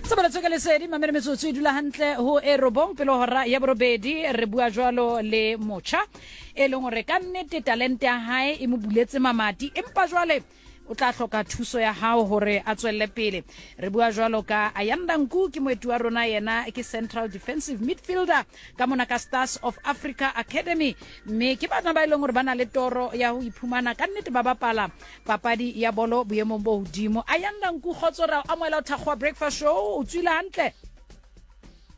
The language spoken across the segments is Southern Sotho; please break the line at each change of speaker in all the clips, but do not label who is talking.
Tshebeletso ke lesedi mamele metsotso e dula hantle ho e robong pele hora ya borobedi. Re bua jwalo le motjha e leng hore ka nnete talente ya hae e mo buletse mamati, empa jwale o tla hloka thuso ya hao hore a tswelle pele. Re bua jwalo ka Ayanda Nku, ke moeti wa rona, yena ke central defensive midfielder ka mona ka Stars of Africa Academy, mme ke bana ba e leng hore ba na le toro ya ho iphumana ka nnete ba bapala papadi ya bolo boemong bo hodimo. Ayanda Nku, kgotso, ra o amohela ho Thakgowa Breakfast Show. O tswile hantle?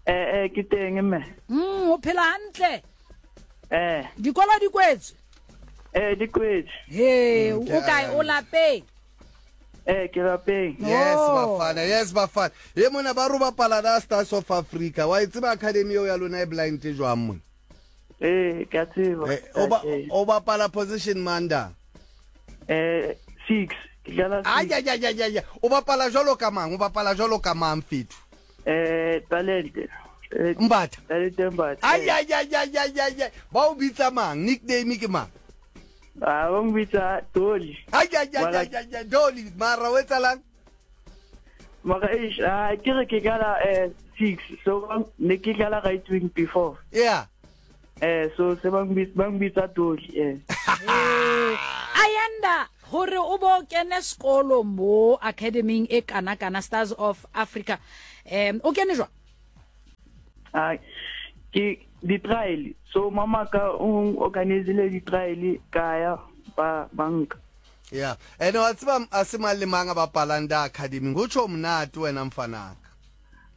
Eh, ke teng mme.
O phela hantle?
Eh.
Dikolo di kwetswe?
Eh, di kwetswe.
He, o kae? O lapeng?
Eh, ke lapeng.
Yes,
Oh.
Bafana, yes Bafana. Ye mona ba ro bapala da Stars of Africa. Wa e tseba academy eo ya lona e blind jwang mona?
Eh, ke a tseba.
Eh, o ba o bapala position manda.
Eh, 6. Ke dlala
Ay
6.
ay ay ay ay. O bapala jwalo ka mang? O bapala jwalo ka mang fethu?
Eh, talente. Eh,
Mbatha.
Talente Mbatha.
Ay ay ay ay ay ay. ay. Ba o bitsa mang? Nickname ke mang?
Ah, ba mbitsa Dolly.
Ay ay ay
Mara-
ay ay ay Dolly, mara o etsalang?
Mara eish, ah, ke re ke dlala 6. So ne ke dlala right wing before.
Yeah.
Eh, so se ba mbitsa Dolly, eh.
Ayanda, hore o bo kene sekolo mo academyng e kana kana Stars of Africa. O kene jwang?
Ah, ke di trial. So mama ka o organizile di trial ka ya ba banka.
Yeah. Ene wa tseba a se mang le mang a bapalang da academy. Ho tjho monate wena mfanaka.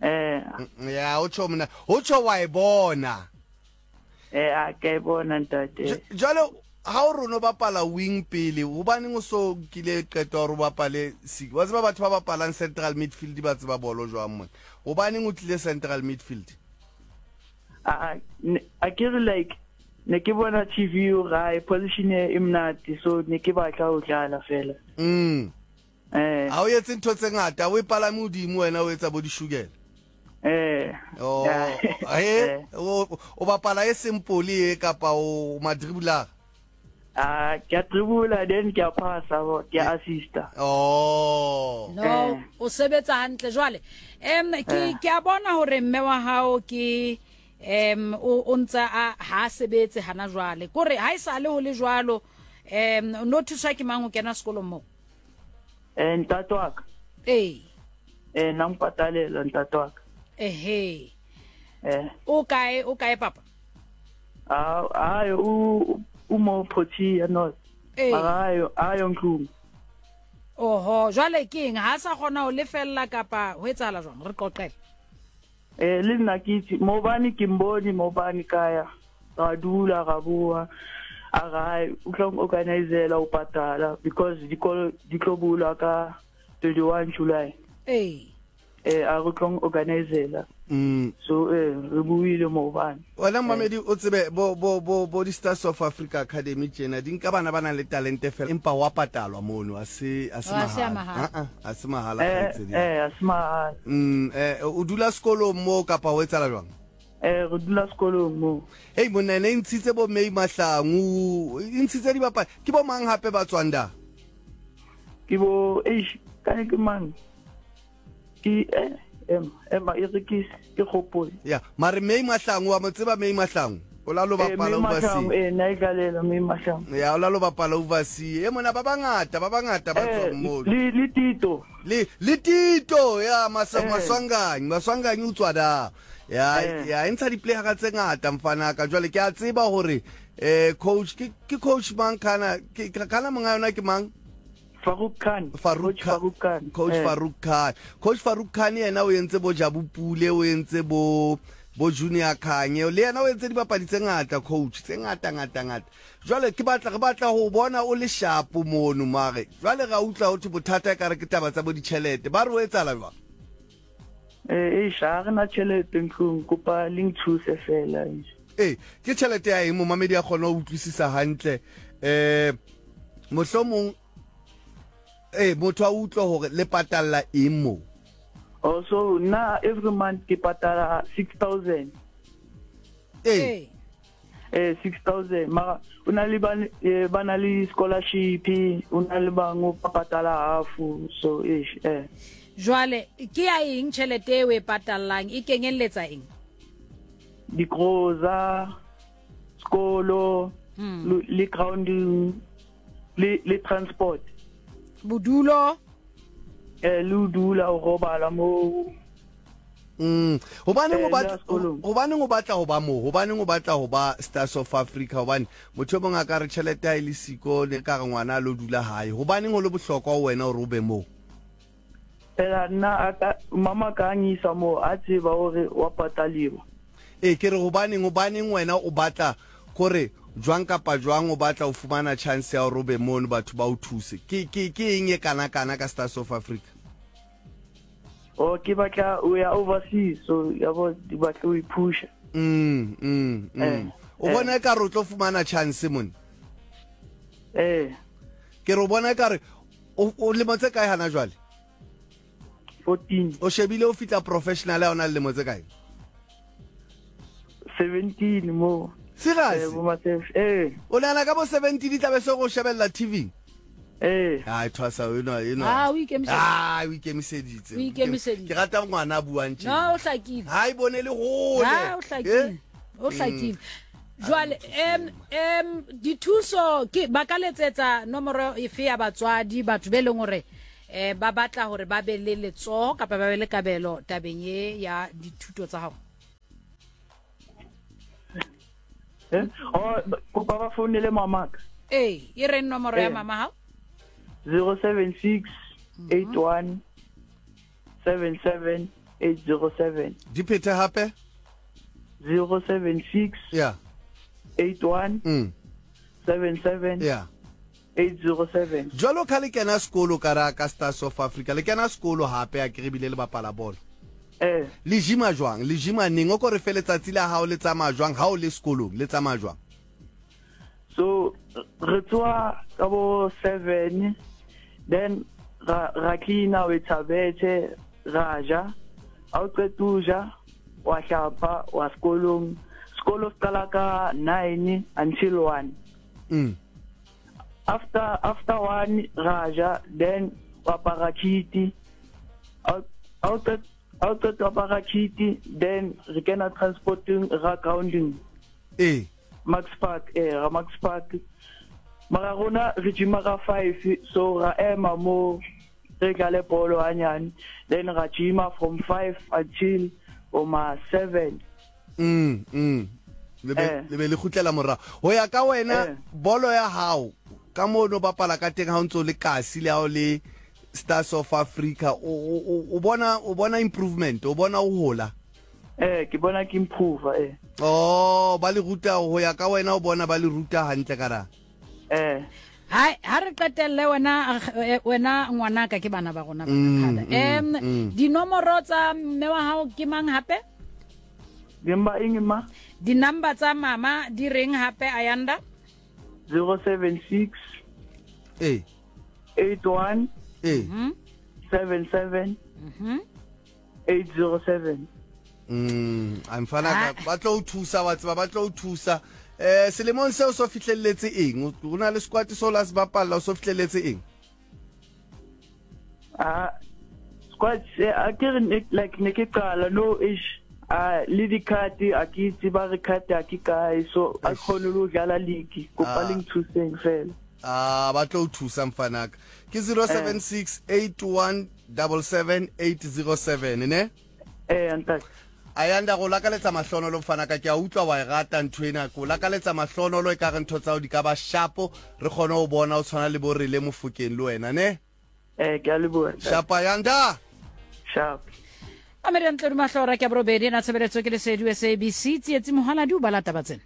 Eh.
Yeah, ho tjho monate. Ho tjho wa e bona.
Eh, a ke e bona ntate.
Jwale ha o rona o bapala wing pele, hobaneng o so nkile qeto ya hore o bapale six? Wa tseba batho ba bapalang central midfield ba tseba bolo jwang mona? Hobaneng o tlile central midfield?
A a ke re like ne ke bona TV o gae position e monate, so ne ke batla ho dlala fela. Eh.
Ha o etse ntho tse ngata, o e palame hodimo wena o etsa bo dishukela.
Eh.
Oh, he, o bapala e simple e kapa o madribulara?
Ah, ke a dribula then ke a passa, ke a assista.
Oh.
No, o sebetsa hantle jwale. Ke ke a bona hore mme wa hao ke o ntsa a ha sebetse hana jwale. Kore ha e sale ho le jwalo, no thuswa ke mang ho kena sekolong moo?
Eh, ntate wa ka.
Ee.
Eh, nna mpatalela ntate wa ka.
Ehe.
Eh.
O kae, o kae papa?
Ah, ayo o mo Protea North.
Ee.
Mara ayo ntlong.
Oho, jwale ke eng ha sa kgona ho lefella kapa ho etsahala jwang? Re qoqele.
Eh, le nna ke itse maobane ke mbone maobane ka ya ra dula ra bua, a re hai o tla organizela ho patala because dikolo di tlo bulwa ka 21 July.
Ee.
Eh, a re tlo organizela. So re buile maobane.
Wena mmamedi o tsebe bo bo bo bo di Stars of Africa Academy tjena di nka bana ba nang le talente fela empa wa patalwa mono, a se a se
Oh, a se a
mahala.
mahala.
Ah, ah, a se mahala
Eh,
kgaitsedi.
eh, a se mahala.
O dula sekolong mo kapa ho etsahala jwang?
Eh, re dula sekolong mo.
Hei monna, ene e ntshitse bo May Mahlangu, e ntshitse dibapadi. Ke bo mang hape ba tswang da?
Ke bo, eish, kane ke mang? Ke, ema, ema, e re ke, ke gopole.
Ya, mare May Mahlangu, wa mo tseba May Mahlangu? O la lo
Eh,
bapala
May Mahlangu,
overseas.
eh, nna e tlalela May Mahlangu.
Ya, o la lo bapala overseas. E mona ba bangata, ba bangata ba
Eh,
tswang moo.
le Tito.
Le Tito, ya,
Eh.
Maswanganyi, Maswanganyi o tswa da. Ya,
Eh.
ya, e ntsha di-playera tse ngata mfanaka. Jwale ke a tseba hore, coach, ke coach mang kana, ke, kana monga yona ke mang?
Farouk Khan.
Farouk
Coach
Khan.
Farouk Khan.
Coach
Eh.
Farouk Khan. Coach Farouk Khan yena o entse bo Jabu Pule, o entse bo Junior Khanye, le yena o entse dibapadi tse ngata coach, tse ngata ngata ngata. Jwale ke batla, re batla ho bona o le sharp mono mare. Jwale ra utlwa ho thwe bothata e kare ke taba tsa bo ditjhelete. Ba re o etsahala jwang?
Eh, eish, ha re na tjhelete ntlong, kopa le nthuse fela, eish.
Eh, ke tjhelete ya eng momamedi a kgone ho utlwisisa hantle. Mohlomong motho a utlwe hore le patalla eng moo.
Oh, so nna every month ke patala 6,000.
Eh.
6,000. Mara o na le ba, ba na le scholarship, o na le bangwe ba patala half, so eish, eh.
Jwale ke ya eng tjhelete e o e patallang, e kenyelletsa eng?
Digroza, sekolo, le grounding, le le transport.
Bodulo.
Eh, le ho dula o robala moo.
Hobaneng o
Eh, le
batla
ya sekolong.
hobaneng o batla ho ba moo? Hobaneng o batla ho ba Stars of Africa? Hobane motho e mong a ka re tjhelete ha e le siko ne ka re ngwana a lo dula hae. Hobaneng ho le bohlokwa ho wena hore o be moo?
Phela nna a ka mama ka a ngisa moo a tseba hore wa pataliwa.
Ee, ke re hobaneng hobaneng wena o batla kore jwang kapa jwang o batla ho fumana chance ya hore o be mono batho ba o thuse. Ke ke ke eng e kana kana ka Stars of Africa?
Oh, ke batla o ya overseas, so ya bo di batla o iphusha.
Mm. O bona ekare o tlo fumana chance mone?
Eh.
Ke re o bona ekare o lemo tse kae hana jwale?
14.
O shebile o fitla professional ha o na le lemo tse kae?
17 mo.
Serious?
Eh, bo Matef. Eh.
O nahana ka bo 17 di tlabe se go shebella TV?
Eh.
Ai thwasa eno eno.
Ah, o ikemiseditse.
Ah, o ikemiseditse.
O ikemiseditse.
Ke rata ngwana a buang tje.
No, o hlakile.
Ha e bone le hole.
Ha o hlakile.
Eh?
O hlakile. Jwale em em dithuso ke ba ka letsetsa nomoro efe ya batswadi batho be leng hore eh ba batla hore ba be le letsoho kapa ba be le kabelo tabeng ye ya dithuto tsa hao.
Eh? Oh, kopa ba founele mamaka.
Ee, e reng nomoro ya
Eh.
mama hao?
076 81 77 807.
Di phethe hape?
076
Yeah.
81 77
Yeah.
807.
Jwalo ka le kena sekolo ka ra ka Stars of Africa, le kena sekolo hape a ke re bile le bapala bolo.
Eh.
Le jima jwang? Le jima neng? O ko re fe letsatsi la hao le tsamaya jwang ha o le sekolong, le tsamaya jwang?
So re tsoha ka bo 7 then ra ra cleaner we thabetse ra ja. Ha o qeta ho ja wa hlapa wa sekolong. Sekolo se qala ka 9 until 1. After after 1 ra ja then wa apara kit. Ha o qeta ha o qeta ho apara kit then re kena transporteng ra grounding.
Ee.
Max Park eh ra Max Park. Mara rona re gym-a ka 5 so ra ema mo re dlale bolo hanyane then ra gym-a from 5 until o ma 7.
Le be le be le kgutlela morao. Ho ya ka wena bolo ya hao ka moo no bapala ka teng ha o ntso le kasi le ha o le Stars of Africa o o bona o bona improvement o bona o hola.
Eh ke bona ke improve eh.
Oh ba le ruta ho ya ka wena o bona ba le ruta hantle ka ra.
Eh.
Hai ha re qetelle wena wena ngwanaka ke bana ba rona ba khada. Em dinomoro tsa mme wa hao ke mang hape?
Dimba eng ma?
Di number tsa mama di reng hape Ayanda?
076
Eh.
81
Eh.
77 807.
A mfana ka ba tlo o thusa wa tseba ba tlo o thusa. Eh selemong seo so fihlelletse eng? O na le squad so la se bapalla o so fihlelletse eng?
Ah squad se a ke re like ne ke qala no ish a le di card a ke itse ba re card a ke kae so a kgone le ho dlala league kopa le nthuseng fela.
Ah ba tlo o thusa mfanaka. Ke 076 81 77 807 ne?
Eh ntate.
Ayanda go lakaletsa mahlonolo mfanaka ke a utlwa wa e rata ntho ena ko lakaletsa mahlonolo e ka re ntho tsa o di ka ba shapo re kgone ho bona o tshwana le bo Rele Mofokeng le wena ne?
Eh ke a leboha.
Shapa Ayanda.
Sharp.
Ameria Ntlodi Mahlora ke ya borobedi na tshebeletso ke Lesedi SABC Tsietsi Mohaladi o bala taba tsena.